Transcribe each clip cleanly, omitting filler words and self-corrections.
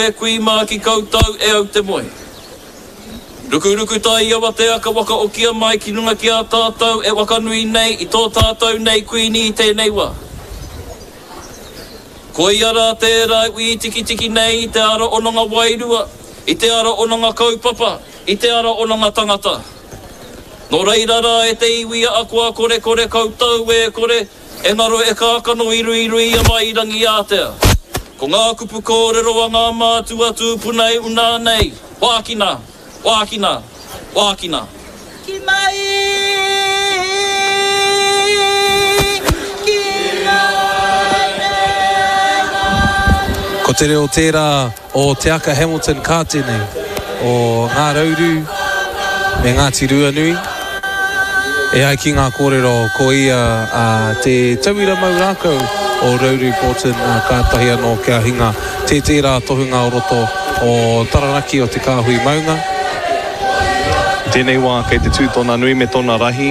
E kui mā ki koutou e au te moe. Rukuruku tai awatea ka wakaokia mai ki runga ki a tātou e wakanui nei i tō tātou nei Kuini i tēnei wā. Koia rā tērā e wītikitiki nei i te ara ononga wairua, i te ara ononga kaupapa, i te ara ononga tangata. Nō reira rā e te iwi a akoa korekore koutou e kore, E ngaro e kākano i ruiruia mai i Rangiātea. Ko ngā kupu kōrero a ngā mātua tūpuna e unā nei, Wākina! Wākina! Wākina! Ki mai, ki mai te Ko te reo tērā o Te Aka Hamilton Kātene, o Ngā Rauru me Ngāti Ruanui. E ai ki ngā kōrero, ko ia te tauira mau rākau o Rauru Broughton, kātahi anō kia hinga tē tērā tohunga o roto o Taranaki o Te Kāhui Maunga. I tēnei wā kei te tū tōna nui me tōna rahi,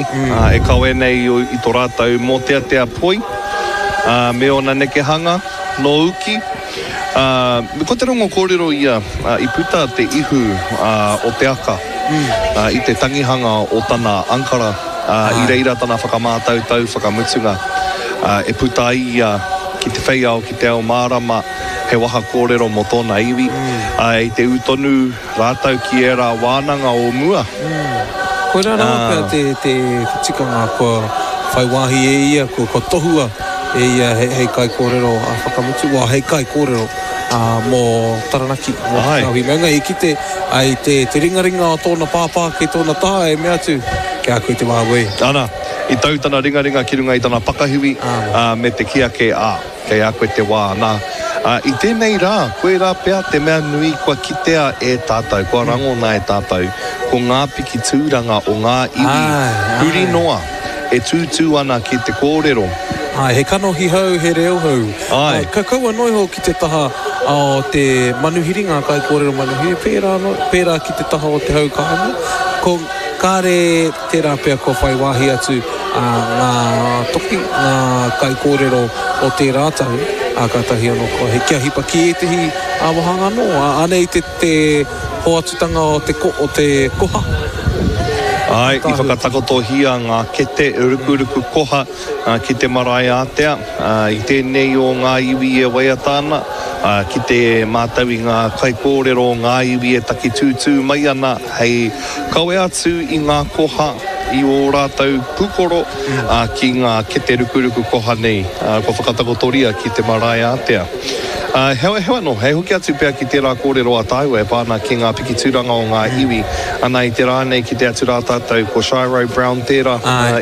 e kawe nei i tō rātou mōteatea poi me ōna nekehanga nō uki. Ā, ko te rongo kōrero ia, i puta te ihu o te aka i te tangihanga o tana ankara, ā, i reira tana whakamātautau whakamutunga, ā, e puta ai ia ki te whei ao, ki te ao mārama, he waha kōrero mō tōna iwi, ā, i te ū tonu rātou ki ērā wānanga o mua. Koirā rawa pea te, te tikanga kua whai wāhi e ia, kua, kua tohua e ia hei, hei kaikōrero a whakamutu, well, hei kaikōrero mō Taranaki, mō Te Kāhui Maunga. I kite ai te, te ringaringa o tōna pāpā ki tōna taha e mea atu, Ki a koe te wā wē. Ana, i tau tana ringaringa ki runga i tana pakahiwi, ā, me te kī ake, ā. Kei a koe te wā, nā. Ā, i tēnei rā, koirā pea te mea nui kua kitea e tātou, kua rangona e tātou, ko ngā piki tūranga o ngā iwi huri noa e tūtū ana ki te kōrero. Āe, he kanohi hou, he reo hou. Āe. Ka kaua noa iho ki te taha o te manuhiri, ngā kaikōrero manuhiri, pērā anō, pērā ki te taha o te hau kāinga. Ko, kāre tērā pea kua whai wāhi atu ngā toki, ngā kaikōrero o tērā tau, ā, kātahi anō kua he kia hipa ki ētehi wāhanga anō. Anei te, te hoatutanga o te, o te koha. Āe, i whakatakotohia ngā kete rukuruku koha ki te marae ātea, i tēnei o ngā iwi e waiata ana, ki te mātau i ngā kaikōrero o ngā iwi e taki tūtū mai ana hei kawe atu i ngā koha i ō rātou pūkoro ki ngā kete rukuruku koha nei kua whakatakotoria ki te marae ātea. Heoi anō, hei hoki atu pea ki tērā kōrero a tāua e pā ana ki ngā pikitūranga o ngā iwi, ana i te rā nei kite atu rā tātou ko Shiro Brown tērā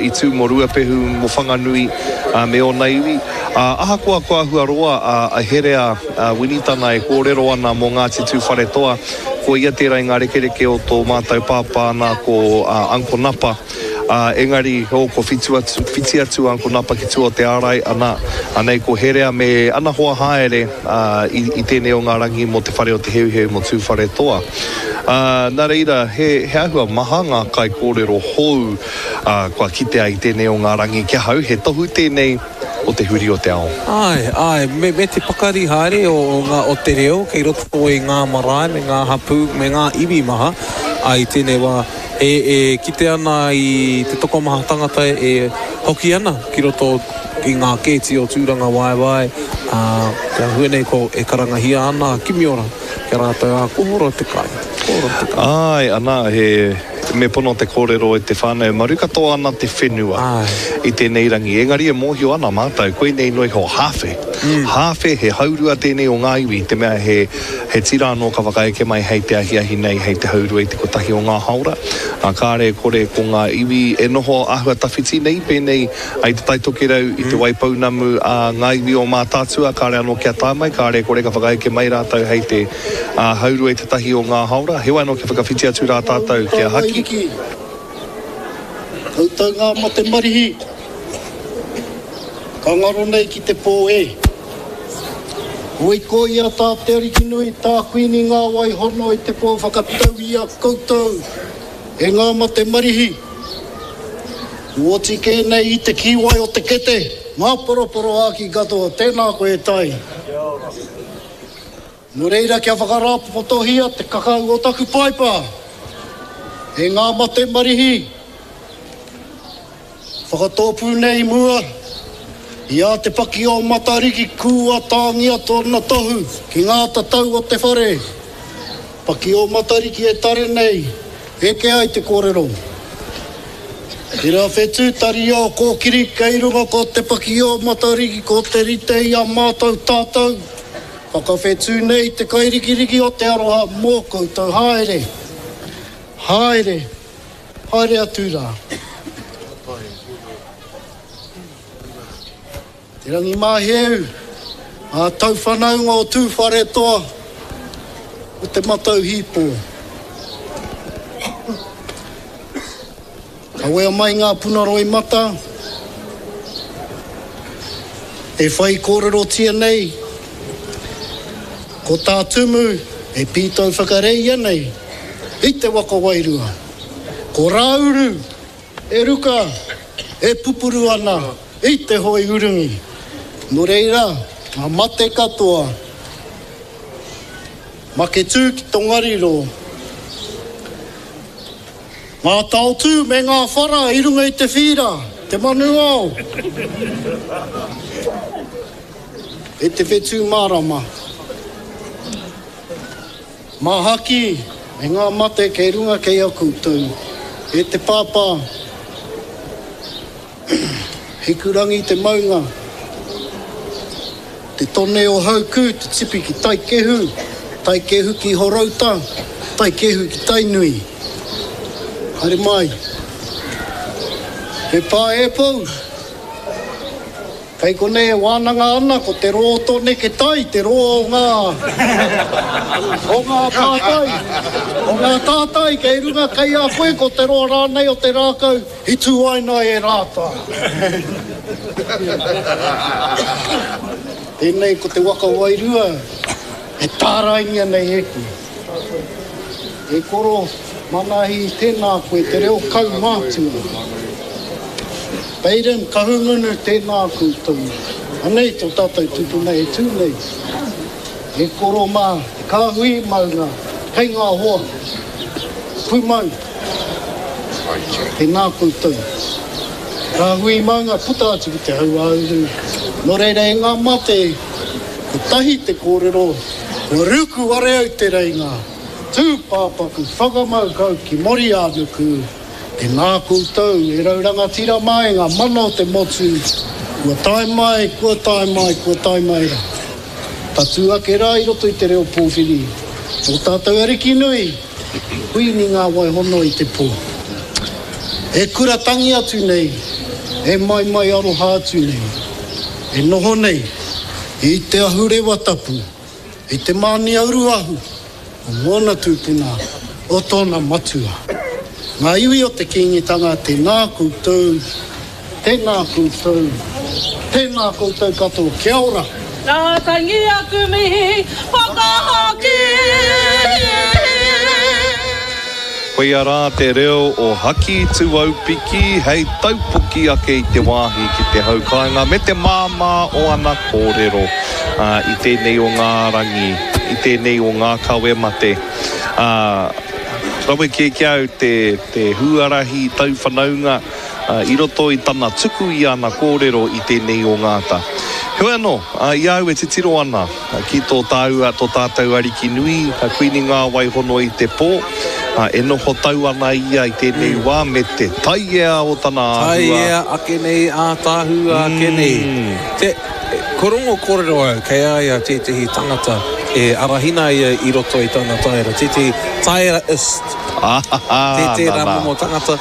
i tū mō Ruapehu, mō Whanganui me ōna iwi. Ahakoa kua āhua roa a Herea Winitana e kōrero ana mō Ngāti Tūwharetoa, Ko ia tērā i ngā rekereke o tō mātou pāpā nā ko Uncle Napa, ā, engari, oh, kua whitu atu, whiti atu a Uncle Napa ki tua o te ārai, ana, anei ko Herea me ana hoa haere, ā, i, i tēnei o ngā rangi mō te whare o Te Heuheu mō Tūwharetoa. Ā, nā reira, he, he āhua maha ngā kaikōrero hou, ā, kua kitea i tēnei o ngā rangi ki ahau, he tohu tēnei, o te huri o te ao. Āe, āe, me, me te pakari haere o, o ngā, o te reo kei roto i ngā marae me ngā hapū me ngā iwi maha, ā, i tēnei wā, e, e kite ana i te tokomaha tangata e hoki ana ki roto i ngā kēti o Tūrangawaewae, ā, te āhua nei ko, e karangahia ana a Kimiora ki a rātou, ā, ko horo te kai, ko horo te kai. Āe, anā, he. Me pono te kōrero e te whānau, maru katoa ana te whenua i tēnei rangi. Engari e mōhio ana mātou, koinei noa iho hāwhe. Hāwhe, he haurua tēnei o ngā iwi, i te mea he, he tira anō ka whakaeke mai hei te ahiahi nei, hei te haurua i te kotahi o ngā haora. Ā, kāre e kore ko ngā iwi e noho āhua tawhiti nei, pēnei i Te Tai Tokerau, i Te Waipounamu, ā, ngā iwi o Mātaatua, kāre anō kia tae mai, kāre e kore ka whakaeke mai rātou hei te. Ā, haurua i te tahi o ngā haora, heoi anō kia whakawhiti atu rā tātou kia haki. Koutou ngā mate marihi, ka ngaro nei ki te pō e. Hoi ko ia tā Te Arikinui, tā Kuini Ngāwai hono i te pō whakatau i a koutou e ngā mate marihi. Kua oti kē nei i te kīwai o te kete, ngā poroporoāki katoa, tēnā koe e Tai. Kia ora. Nō reira kia whakarāpopotohia te kakau o taku paipa e ngā mate marihi whakatōpū nei i mua i a Te Paki o Matariki kua tāngia tōna tohu ki ngā tatau o te whare Paki o Matariki e tare nei, eke ai te kōrero. Tērā whetū taria o Kōkiri kei runga ko Te Paki o Matariki ko te rite i a mātou tātou Whakawhetū nei te kairikiriki o te aroha mō koutou haere, haere, haere atu rā. Te Rangimāheu, ngā tauwhanaunga o Tūwharetoa, o Te Matau Hīpō. Kawea mai ngā puna roimata e whai kōrerotia nei, ko tā Tumu e pītau whakareia nei i te waka wairua, ko Rāuru e ruka e pupuru ana i te hoe urungi. Nō reira, ngā mate katoa, Maketū ki Tongariro. Ngā taotū me ngā whara i runga i te whīra, te manu ao, e te whetū mārama. Māhaki me ngā mate kei runga kei a koutou, e te pāpā. Hikurangi te maunga, te tone o Haukū, te tipi ki Taikehu, Taikehu ki Horouta, Taikehu ki Tainui. Haere mai. He pā e pou. Kei konei e wānanga ana ko te roa o tō neke tai, te roa o ngā, o ngā tātai, o ngā tātai kei runga kei a koe ko te roa rānei o te rākau i tūaina e Rātā. Tēnei ko te waka wairua e tāraingia nei e koe. E koro, Manahi, tēnā koe, te reo kaumātua. Baden, Kahungunu, tēnā koutou. Anei tō tātou tupuna e tū nei. E koro mā, te kāhui maunga, kei ngā hoa. Pūmau, tēnā koutou. Te kāhui maunga puta atu ki te hauāuru. Nō reira e ngā mate, kotahi te kōrero, kua ruku ware au te reinga. Tūpāpaku whakamau kau ki Moriānuku, tēnā koutou e rau rangatira mā e ngā mana o te motu, kua tae mai, kua tae mai, kua tae mai rā. Tatū ake rā i roto i te reo pōwhiri, tō tātou ariki nui, Kuini Ngā Waihono i te pō. E kura tangi atu nei, e maimai aroha atu nei, e noho nei i te ahurewa tapu, i te mānia uruahu o ngōna tūpuna, o tōna matua. Ngā iwi o te Kīngitanga, tēnā koutou, tēnā koutou, tēnā koutou katoa, kia ora! Nā tangi aku mihi whakahoki. Koia rā te reo o Haki Tuaupiki hei taupoki ake i te wāhi ki te hau kāinga me te māmā o ana kōrero i tēnei o ngā rangi, i tēnei o ngā kawe mate. Ā, rawe kē ki a au te, te huarahi tauwhanaunga i roto i tana tuku i ana kōrero i tēnei o ngā ata. Heoi anō, i a au e titiro ana ki tō tāua, tō tātou Ariki nui, a Kuini Ngāwaihono i te pō, e noho tau ana ia i tēnei wā me te taiea o tana āhua. Taiea ake nei, ātaahua ake nei. Te, ko rongo kōrero au, kei a ia tētehi tangata e arahina ia i roto i tana taera, tētehi taera-ist. Ā, Tērā momo tangata.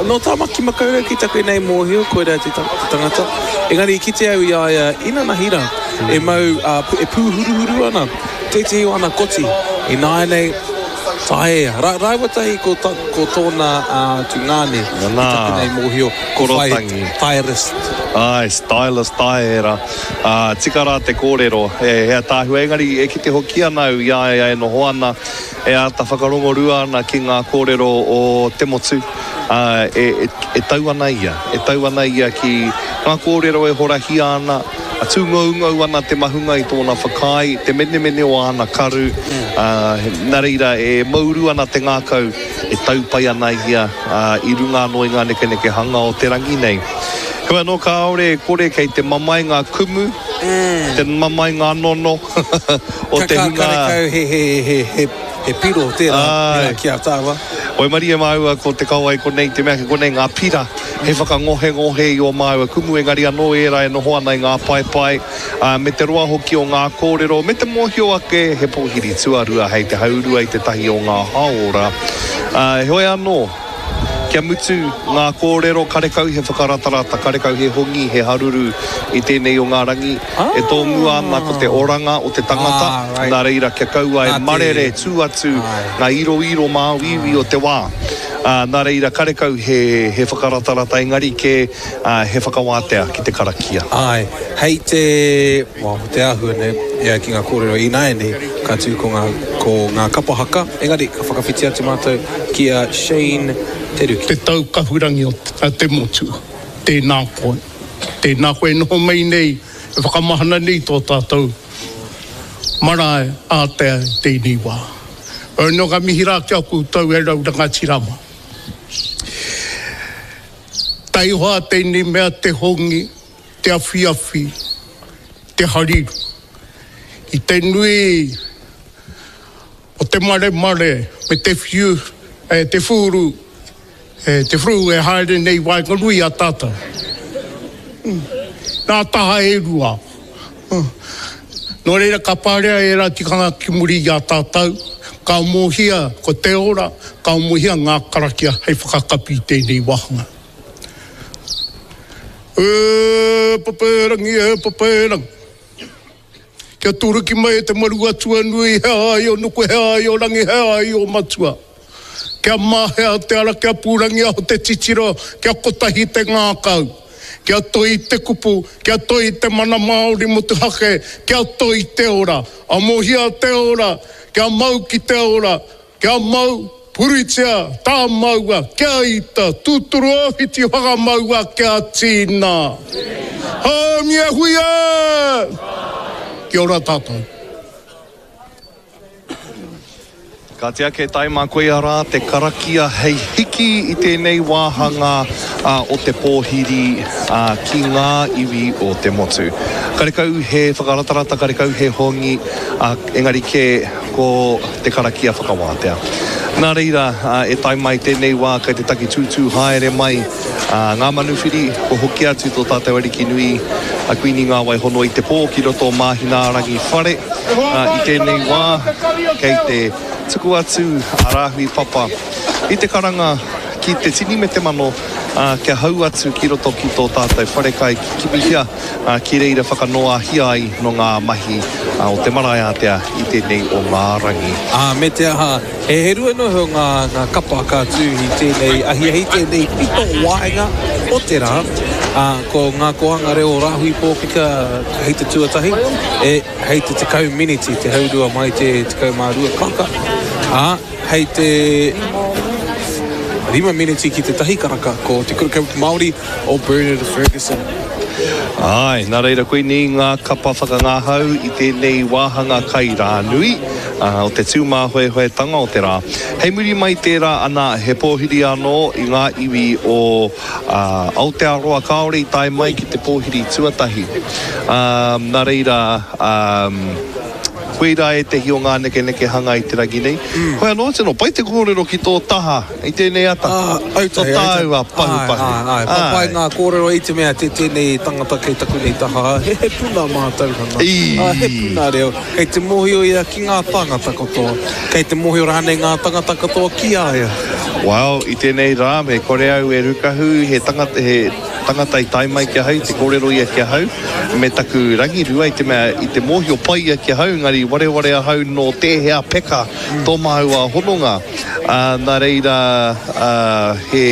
Nō Tāmaki Makaurau ki taku nei mōhio, koirā te tangata. Engari i kite au i a ia inanahi rā, e mau, e pūhuruhuru ana tētehi o ana koti. Ināianei, taea. Rāua tahi ko tōna tungāne i taku nei mōhio, ko whai taerist. Āe, stylist taera. Tika rā te kōrero, he ataahua. Engari e kite hoki ana au i a ia e noho ana, E āta whakarongorua ana ki ngā kōrero o te motu, ā, e, e tau ana ia, e tau ana ia ki ngā kōrero e horahia ana, Tūngoungou ana te mahunga i tōna whakaae, te menemene o āna karu, ā, nā reira e mouru ana te ngākau, e tau pai ana ia i runga anō i ngā nekenekehanga o te rangi nei. Heoi anō, kāore e kore kei te mamae ngā kumu, te mamae ngā nono o te hunga. Karekau he piro tērā ki a tāua. Waimarie māua ko te kauae konei, te mea kei konei ngā pira hei whakangohengohe i ō māua kumu, engari anō ērā e noho ana i ngā paepae, ā, me te roa hoki o ngā kōrero, me te mōhio ake he pōhiri tuarua hei te haurua i te tahi o ngā hāora. Ā, heoi anō, kia mutu ngā kōrero, karekau he whakaratarata, karekau he hongi, he haruru i tēnei o ngā rangi, e tōmua ana ko te oranga o te tangata, nā reira kia kaua e marere tū atu ngā iroiro māuiui o te wā. Nā reira karekau he whakaratarata engari kē he whakawātea ki te karakia. Āe, hei te, well, te āhua nei, e ai ki ngā kōrero ināianei, ka tū ko ngā, ko ngā kapa haka, engari ka whakawhiti atu mātou ki a Shane Te Ruki. Te tau kahurangi o te motu, tēnā koe. Tēnā koe e noho mai nei, e whakamahana nei tō tātou marae ātea i tēnei wā. Heoi nō ka mihi rā ki a koutou e rau rangatira mā. Taihoa tēnei mea te hongi, te awhiawhi, te hariru. I te nui o te maremare me te whiu, te whūru, E te whru e haere nei waenganui i a tātou. Nā taha e rua. Nō reira ka parea ērā tikanga ki muri i a tātou, ka amohia ko te ora, ka amohia ngā karakia hei whakakapi i tēnei wāhanga. E Papaerangi, e Papaerangi. Kia turuki mai e te maru atua nui, he āio nuku, he āio rangi, he āio matua. Kia mahea te ara, kia pūrangiaho te titiro, kia kotahi te ngākau. Kia toi te kupu, kia toi te mana Māori motuhake, kia toi te ora. Amohia te ora, kia mau ki te ora, Kia mau, puritia, tāmaua, kia ita, tūturu ōwhiti whakamaua kia tīna. Haumi e hui e! Kia ora tātou. Kāti ake taima koia rā te karakia hei hiki i tēnei wāhanga o te pōhiri ki ngā iwi o te motu. Karekau he whakaratarata, karekau he hongi, engari kē ko te karakia whakawātea. Nā reira, e tae mai tēnei wā kei te taki tūtū haere mai ngā manuwhiri, kua hoki atu tō tātou Ariki nui a Kuini Ngāwaihono i te pō ki roto o Māhinaarangi whare. I tēnei wā, kei te tuku atu a Rāhui Papa i te karanga ki te tini me te mano kia hau atu ki roto ki tō tātou wharekai ki Kimihia. ā, ki reira whakanoahia ai nō ngā mahi o te marae ātea i tēnei o ngā rangi. Ā, me te aha, he rua noa iho ngā, ngā kapa ka tū i tēnei ahiahi, tēnei pito waenga o te rā, ā, ko ngā kōhanga reo o Rāhui Pōkeka hei te tuatahi, e, hei te 10 miniti, te haurua mai te 12 karaka, ā, hei te rima miniti ki te tahi karaka, ko Te Kura Kaupapa Māori o Bernard Fergusson. Āe, nā reira koinei ngā kapa whakangahau i tēnei wāhanga kai rānui o te tūmāhoehoetanga o te rā. Hei muri mai tērā ana he pōhiri anō i ngā iwi o Aotearoa kāore i tae mai ki te pōhiri tuatahi. Nā reira, koirā ētehi o ngā nekenekehanga i te rangi nei. Hoi anō, tino pai te kōrero ki tō taha. I tēnei ata, to tāua pahupahu. Āe, āe, papai ngā kōrero i te mea te tēnei tangata kei taku nei taha, he puna mātauranga, he puna reo, kei te mōhio ia ki ngā tāngata katoa, kei te mōhio rānei ngā tangata katoa ki a ia. Well, i tēnei rā, me kore au e rukahu, he tangata, he tangata i tae mai ki ahau, te kōrero ia ki ahau, me taku rangirua i te mea, i te mōhio pai ia ki ahau, engari wareware ahau nō tēhea peka tō māua hononga. Ā, nā reira, ā, he,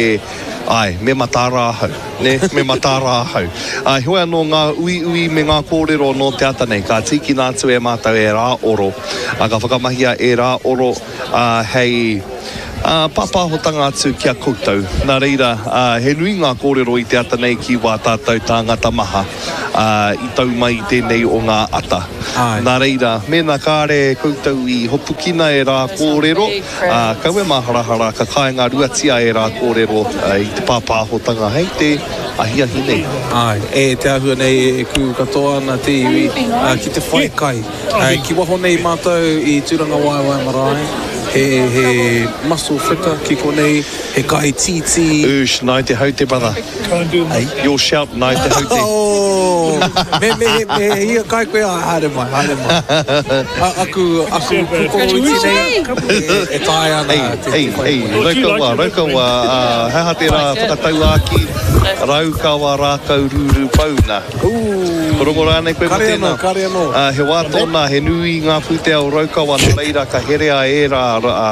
āe, me mataara ahau, nē, me mataara ahau. Ā, heoi anō ngā uiui me ngā kōrero nō te ata nei, ka tīkina atu e mātou ērā oro, ā, ka whakamahia ērā oro, ā, hei, Pāpāhotanga atu ki a koutou. Nā reira, he nui ngā kōrero i te ata nei ki wā tātou tāngata maha i tau mai i tēnei o ngā ata. Nā reira, mēnā kāre koutou i hopukina e rā kōrero, kaua e māharahara ka kāinga ruatia e rā kōrero i te pāpāhotanga hei te ahiahi nei. Āe, e te āhua nei e kū katoa ana te iwi ki te whai kai. Ki waho nei mātou i Tūrangawaewae marae, he, he mussel fritter ki konei, he kai tītī. Oosh, nai te haute brother. Your shout, nai te haute. Oh, me, me, he, me he hia kai koe, ah, haere mai, haere mai. A, aku, aku pukoro iti nei, e, e taea ana Hey, te, hey, te whai hey, koe. Raukawa, Raukawa, uh, he aha tērā whakatauākī, Raukawa rākau rūrū pauna. Ooh. Ko rongo rānei koe mō Kare tēnā? anō, kare anō. Ā, he wā tōna, he nui ngā pūtea o Raukawa, nā reira ka herea ērā, ā,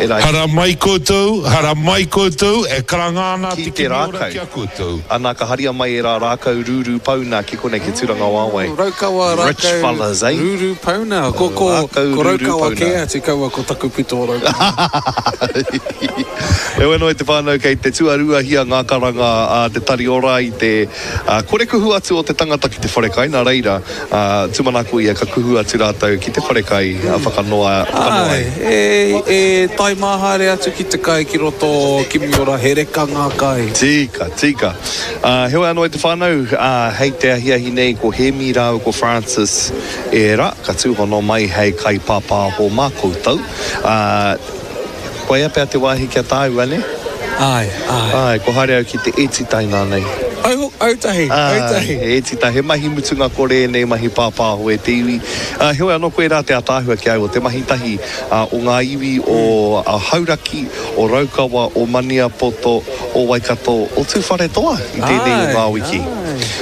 ērā. Haramai koutou, haramai koutou, e karanga ana Ki te te Kimiora rākau. ki a koutou. Ana, ka haria mai ērā rākau rūrū pauna ki konei ki Tūrangawaewae. Raukawa Rich rākau fellas, eh? rūrū pauna. Ko, ko, Rākau ko rūrū Raukawa pauna. kē atu, kaua ko taku pito o Raukawa. Heoi anō e te whānau kei te tuaruahia ngā karanga a te Tari Ora i te Ā, kore kuhu atu o te tangata ki te wharekai, nā reira, ā, tūmanako ia ka kuhu atu rātou ki te wharekai, ā, whakanoa, whakanoa ai. Āe, e, e tae mā haere atu ki te kai ki roto o Kimiora, he reka ngā kai. Tika, tika. Ā, heoi anō e te whānau, ā, hei te ahiahi nei ko Hēmi rāua ko Francis ērā, ka tūhono mai hei kaipāpāho mā koutou. Ā, Koia pea te wāhi ki a tāua, nē? Āe, āe. Āe, kua haere au ki te ētita inānei. Au, autahi, autahi. Āe, he ētita, he mahi mutunga kore ēnei mahi pāpāho e te iwi. Ā, heoi anō koirā te ātaahua ki a au o te mahi tahi o ngā iwi o Hauraki, o Raukawa, o Maniapoto, o Waikato, o Tūwharetoa i tēnei o ngā wiki.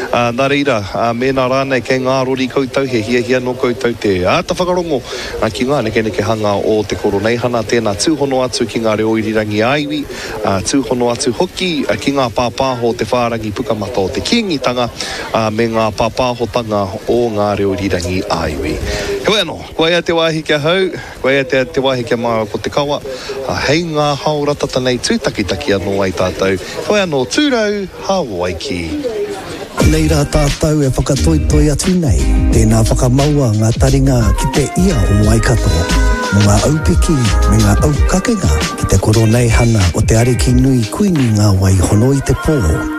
Ā, nā reira, mēnā rānei kei ngā rori koutou, he hiahia nō koutou te āta whakarongo Ā, ki ngā nekenekehanga o te Koroneihana, tēnā tūhono atu ki ngā reo irirangi ā-iwi, ā, tūhono atu hoki ki ngā pāpāho o te whārangi pukamata o te Kīngitanga, ā, me ngā pāpāhotanga o ngā reo irirangi ā-iwi. Heoi anō, kua ea te wāhi ki ahau, kua ea te, te wāhi ki a māua ko Te Kawa, ā, hei ngā haora tata nei tūtakitaki anō ai tātou. Heoi anō, tūrau, Hawaiki. Nei rā tātou e whakatoitoi atu nei, tēnā whakamaua ngā taringa ki te ia o Waikato, mō ngā aupiki me ngā aukakenga ki te koroneihana o te Ariki Nui Kuini Ngā Wai Hono i te Pō.